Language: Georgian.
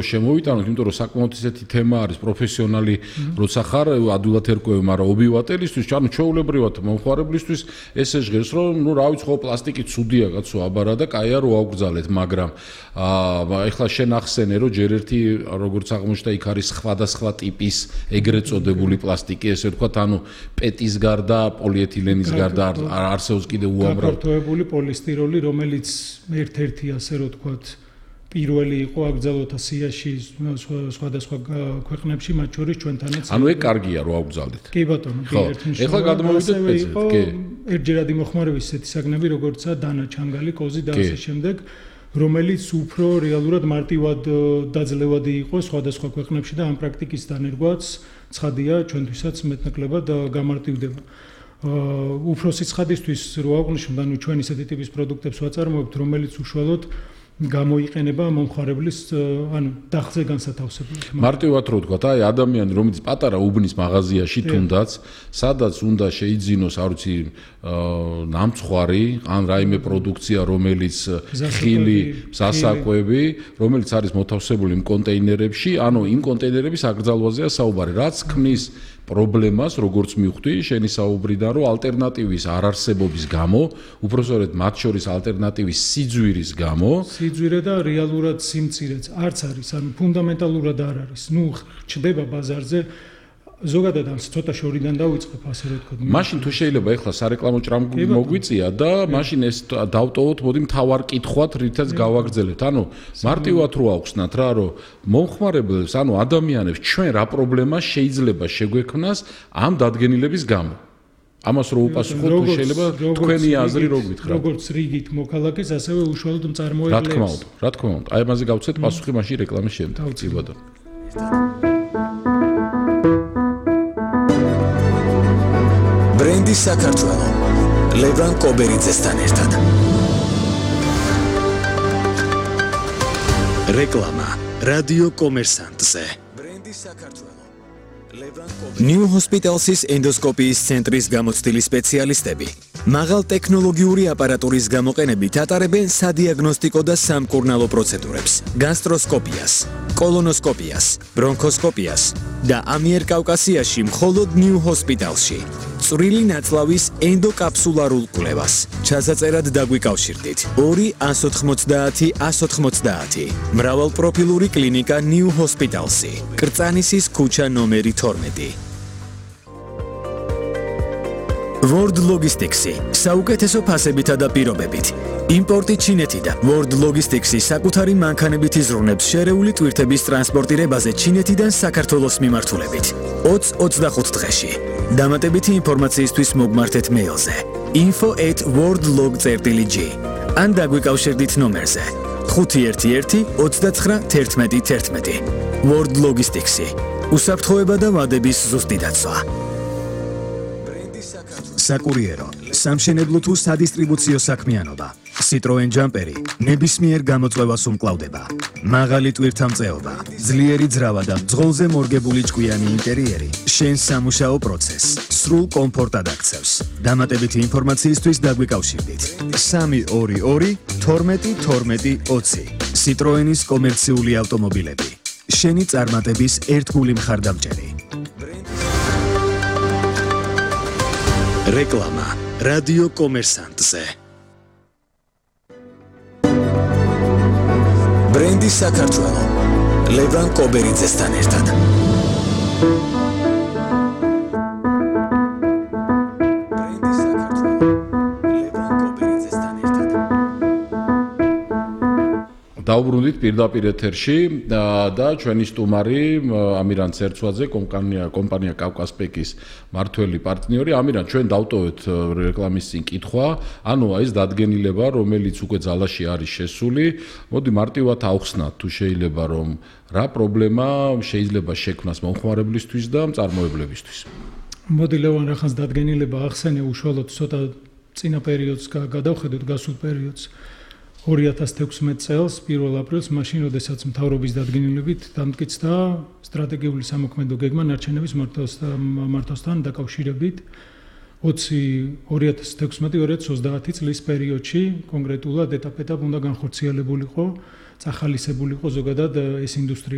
შემოვიტანოთ, იმიტომ რომ საკმაოდ ისეთი თემა არის პროფესიონალი, როცა ხარ ადვილად ერკვევი, მაგრამ ობიუატელისთვის, ანუ ჩვეულებრივად მომხმარებლისთვის ესე ჟღერს, რომ რა ვიცი, ხო პლასტიკი ცუდია კაცო აბარა და კაია რო აღვგზალეთ, მაგრამ ეხლა შენ ახსენე, რომ ჯერ ერთი როგორც აღმოჩნდა, იქ არის სხვადასხვა ტიპის ეგრეთ წოდებული პლასტიკი, ესე ვთქვათ, ანუ პეტის გარდა, პოლიეთილენის გარდა არსებობს კიდე უამრავი გაფართოებული პოლისტიროლი, რომელიც ერთ-ერთი ასე რომ ვთქვათ პირველი იყო აკრძალოთ ასიაში სხვადასხვა ქვეყნებში, მათ შორის ჩვენთანაც. ანუ ეგ კარგია რომ აღვგზავნეთ. კი ბატონო, ერთნიშნულოვანი. ეხლა გადმოვიდეთ პეცეთ, კი. ერთჯერადი მოხმარების ისეთი საგნები, როგორცაა დანა ჩანგალი, კოზი და ასე შემდეგ, რომელიც უფრო რეალურად მარტივად დაძლევადი იყო სხვადასხვა ქვეყნებში და ამ პრაქტიკის დანერგვაც ცხადია ჩვენთვისაც მეტნაკლებად გამარტივდება. უფროსი ცხადისთვის რო აღვნიშნოთ, ანუ ჩვენ ისეთი ტიპის პროდუქტებს ვაწარმოებთ, რომელიც უშუალოდ გამოიყენება მომხმარებლის ანუ დახზე განსათავსებლად. მარტივად რო ვთქვათ, აი ადამიანი რომელიც პატარა უბნის მაღაზიაში თუნდაც, სადაც უნდა შეიძინოს, არ ვიცი, ნამცხვარი, ან რაიმე პროდუქცია, რომელიც ხილი, სასაკვები, რომელიც არის მოთავსებული იმ კონტეინერებში, ანუ იმ კონტეინერების აკრძალვაზეა საუბარი, რაც ქმნის პრობლემას, როგორც მივხვდი, შენი საუბრიდან, რომ ალტერნატივის არარსებობის გამო, უпроსორედ მათ შორის ალტერნატივის სიძვირის გამო, სიძვირე და რეალურად სიმწირეც არც არის, ანუ ფუნდამენტალურად არ არის. ნუ ჩდება ბაზარზე ზოგადად ამ ცოტა შორიდან დავიწყებ ასე რომ ვთქვათ. მაშინ თუ შეიძლება ეხლა სარეკლამო ჭრამბი მოგვიწია და მაშინ ეს დავტოვოთ, მოდი მთავარ კითხვად რითაც გავაგრძელებთ. ანუ მარტივად რო ავხსნათ რა, რომ მომხმარებელს, ანუ ადამიანებს ჩვენ რა პრობლემა შეიძლება შეგვექმნას ამ დადგენილების გამო. ამას რო უპასუხოთ, თუ შეიძლება თქვენი აზრი რო გითხრათ. როგორც რიგით მოქალაქეს, ასევე უშუალოდ მწარმოებლებს. რა თქმა უნდა. აი ამაზე გავცეთ პასუხი მაშინ რეკლამის შემდეგ. კი ბატონო. ბრენდი საქართველო ლევან კობერიძესთან ერთად. რეკლამა რადიო კომერსანტზე. ბრენდი საქართველო ლევან კობერიძე. New Hospital's ენდოსკოპიის ცენტრის გამოცდილი სპეციალისტები მაღალ ტექნოლოგიური აპარატურის გამოყენებით ატარებენ სადიაგნოსტიკო და სამკურნალო პროცედურებს, გასტროსკოპიას, კოლონოსკოპიას, ბრონქოსკოპიას და ამიერკავკასიაში მხოლოდ New Hospital's-ში. წვრილი ნაწლავის ენდოკაფსულარულ კვლევას. ჩასაწერად დაგვიკავშირდით 2-190-190. მრავალპროფილური კლინიკა New Hospital's-ი. კრწანისის ქუჩა ნომერი 12. World Logistics-ი საუკეთესო ფასებითა და პირობებით. იმპორტი ჩინეთიდან. World Logistics-ი საკუთარი მანქანებით იზრუნებს შერეული ტვირთების ტრანსპორტირებაზე ჩინეთიდან საქართველოს მიმართულებით. 20-25 დღეში. დამატებითი ინფორმაციისთვის მოგმართეთ მეილზე info@worldlog.g ან დაგვიკავშირდით ნომერზე 511-29-11-11. World Logistics-ი. უსაფრთხოება და ვადების ზუსტი დაცვა. საკურიერო, სამშენებლო თუ სადისტრიბუციო საქმიანობა. Citroen Jumperi ნებისმიერ გამოწვევას უმკლავდება. მაღალი ტვირთამწეობა, ძლიერი ძრავა და ძღოლზე მორგებული ჭკვიანი ინტერიერი შენს სამუშაო პროცესს სრულ კომფორტად აქცევს. დამატებითი ინფორმაციისთვის დაგვიკავშირდით 322-12-12-20. Citroenis კომერციული ავტომობილები. შენი წარმატების ერთგული მხარდამჭერი. რეკლამა რადიო კომერსანტზე. ბრენდი საქართველო ლევან კობერიძესთან ერთად. დავბრუნდით პირდაპირ ეთერში და ჩვენი სტუმარი ამირან ცერცვაძე, კომპანია კავკასპეკის მართველი პარტნიორი. ამირან, ჩვენ დავტოვეთ რეკლამის წინ კითხვა, ანუ ეს დადგენილება, რომელიც უკვე ძალაში არის შესული, მოდი მარტივად ავხსნათ, თუ შეიძლება, რომ რა პრობლემა შეიძლება შექმნას მომხმარებლისთვის და მწარმოებლებისთვის. მოდი ლევან რახანს დადგენილება ახსენე უშუალოდ ცოტა წინა პერიოდს გადავხედოთ, გასულ პერიოდს. 2016 წელს 1 აპრილს მაშინ როდესაც მთავრობის დადგენილებით დამტკიცდა სტრატეგიული სამოქმედო გეგმა ნარჩენების მართვასთან დაკავშირებით 2016-2030 წლის პერიოდში კონკრეტულად ეტაპ-ეტაპ უნდა განხორციელებულიყო წახალისებულიყო ზოგადად ეს ინდუსტრია